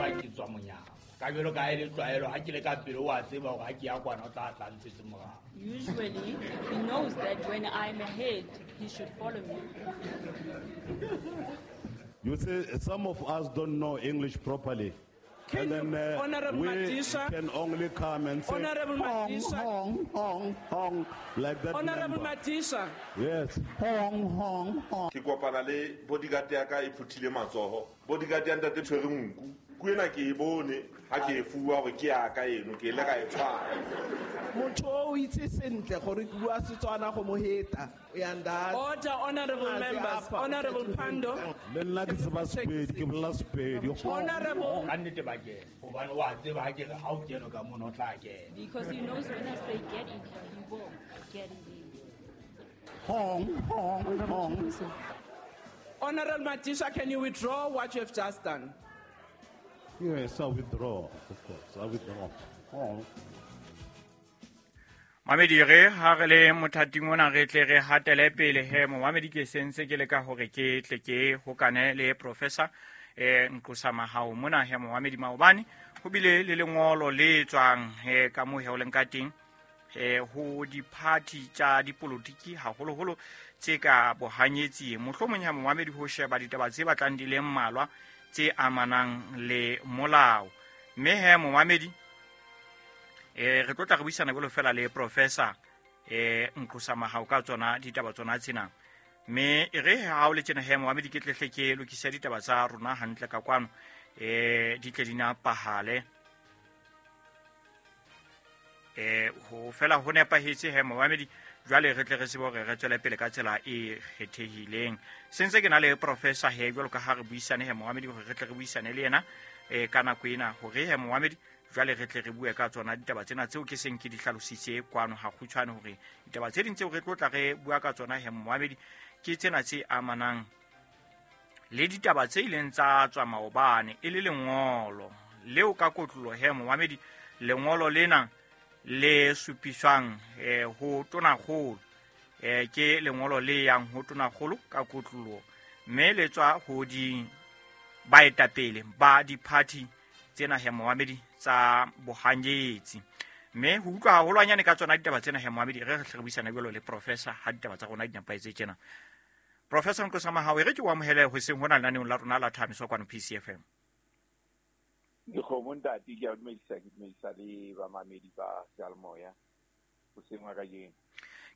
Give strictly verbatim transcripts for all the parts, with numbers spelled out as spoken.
tseba ke tswa monyako. Ka jwalo ka ha e le tlwaelo ha ke le ka pele wa tseba hore ha ke ya kwana o tla tla ntshetse morao. Usually, he knows that when I'm ahead, he should follow me. You see, some of us don't know English properly. Can And then you- uh, Honorable we Madisha? can only come and say, Honorable hong, Madisha. hong, hong, hong, like that Honorable member. Madisha, Yes, hong, hong, hong. Ke kopana le bodyguard ya ka e phuthile matsoho. Bodyguard ya ntate tshwere nku. Ku ena ke e bone ha ke e fuwa hore ke ya ka eno, ke ile ka e tshwara. Motho o o itse sentle gore ke bua Setswana go mo heta o ya ndata. Order, honorable Ah, members. apa, Honorable Pandor. Le nna ke tseba Sepedi, ke bolela Sepedi. Hong, Honorable, Ka nnete ba kena. Hobane wa tseba ha ke re ha o kene ka mono o tla kena. Because he knows when I say get in here, he will get in here. Hong, hong, hong. Honorable Madisha, can you withdraw what you have just done? Yes, I withdraw, of course, I withdraw. Hong. Mamedi, re ha re le mothating ona re tle re hatele pele he momamedi. Ke sentse ke leka hore ke tle ke hokane le professor eh Nqosa Mahao mona he momamedi. Maobane ho bile le lengolo le tswang he ka moo he o leng ka teng eh ho diphathi tsa dipolotiki, haholoholo tse ka bohanyetsi, mohlomong ya momamedi, ho sheba ditaba tse batlang di le mmalwa tse amanang le molao. Mme he momamedi, eh re tlo tla re buisana jwalo fela le professor eh Nqosa Mahao ka tsona ditaba tsona tsena. Mme e re ha o le tjena he momamedi, ke tlehle ke lokise ditaba tsa rona hantle ka kwano, eh di tle di napahale, eh ho fela ho nepahetse he momamedi. Jwale re tle re tsebe hore re tswele pele ka tsela e kgethehileng. Sentse ke na le professor he jwalo ka ha re buisane he momamedi, hore re tle re buisane le yena eh ka nako ena, hore he momamedi jwale re tle re bue ka tsona ditaba tsena tseo ke seng ke di hlalositse kwano ha kgutshwane, hore ditaba tse ding tseo re tlo tla re bua ka tsona he momamedi ke tsena tse amanang le ditaba tse ileng tsa tswa maobane, e le lengolo leo ka kotlolo he momamedi. Lengolo lena le supiswang eh, ho tonakgolo, eh, ke lengolo le yang ho tonakgolo ka kotlolo, mme le tswa ho di baetapele ba diphathi tsena he momamedi tsa bohanyetsi. Mme ho utlwa haholwanyane ka tsona ditaba tsena he momamedi, re re hle re buisana jwalo le professor ha ditaba tsa rona di nepahetse tjena. Professor Nqosa Mahao, e re ke o amohele hoseng hona lenaneong la rona la Thamiso kwano P C F M. Dikgomo ntate, ke a dumedisa, ke dumedisa le bamamedi ba seyalemoya hoseng wa kajeno.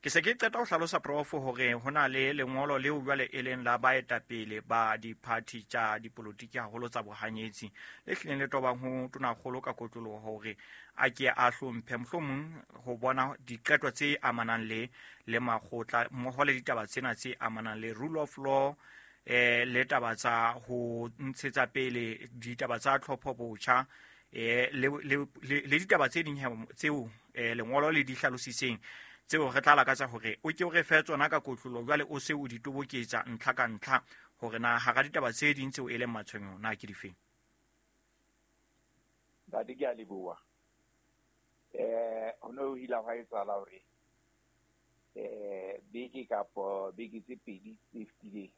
Ke se ke qeta ho hlalosa prof hore ho na le lengolo leo jwale e leng la baetapele ba diphathi tsa dipolotiki, haholo tsa bohanyetsi, le hlileng le tobang ho tonakgolo ka kotloloho hore a ke a hlomphe mohlomong ho bona diqeto tse amanang le, le makgotla mmoho le ditaba tsena tse amanang le rule of law, eh, le taba tsa ho ntshetsa pele ditaba tsa tlhopho botjha, eh, le, le, le, le ditaba tse ding he tseo, eh, lengolo le di hlalositseng, tseo re tla lakatsa hore o ke o re fe tsona ka kotlolo jwale o se o di toboketsa ntlha ka ntlha, hore na hara ditaba tse ding tseo e leng matshwenyeho na ke difeng. Ntate, ke a leboha. Eh, ho ne ho ile hwa etsahala hore, eh, beke kapo beke tse pedi tse fetileng,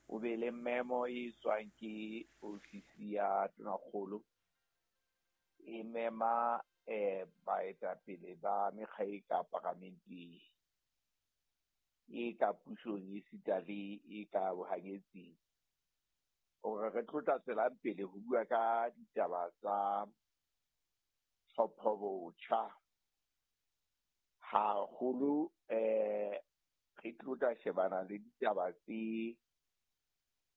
o be le memo e tswang ke ofisi ya tonakgolo e mema, eh, baetapele ba mekga e ka paramenteng, e ka pusong esita le e ka bohanyetsing, hore re tlo tla tswelang pele ho bua ka ditaba tsa tlhopho botjha. Haholo, eh, re tlo tla shebana le ditaba tse,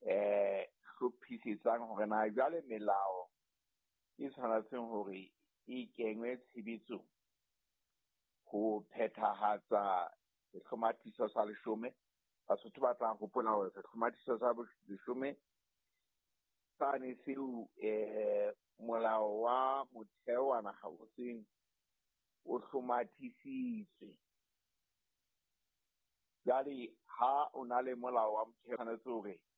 eh, hlophisetsang hore na jwale melao e tshwanetseng hore e kengwe tshebetsong ho phethahatsa sehlomathiso sa leshome. Basotho ba tla hopola hore sehlomathiso sa leshome sane seo, eh, molao wa motheo wa naha o seng o hlomathisitswe. Jwale ha o na le molao wa motheo, tshwanetse hore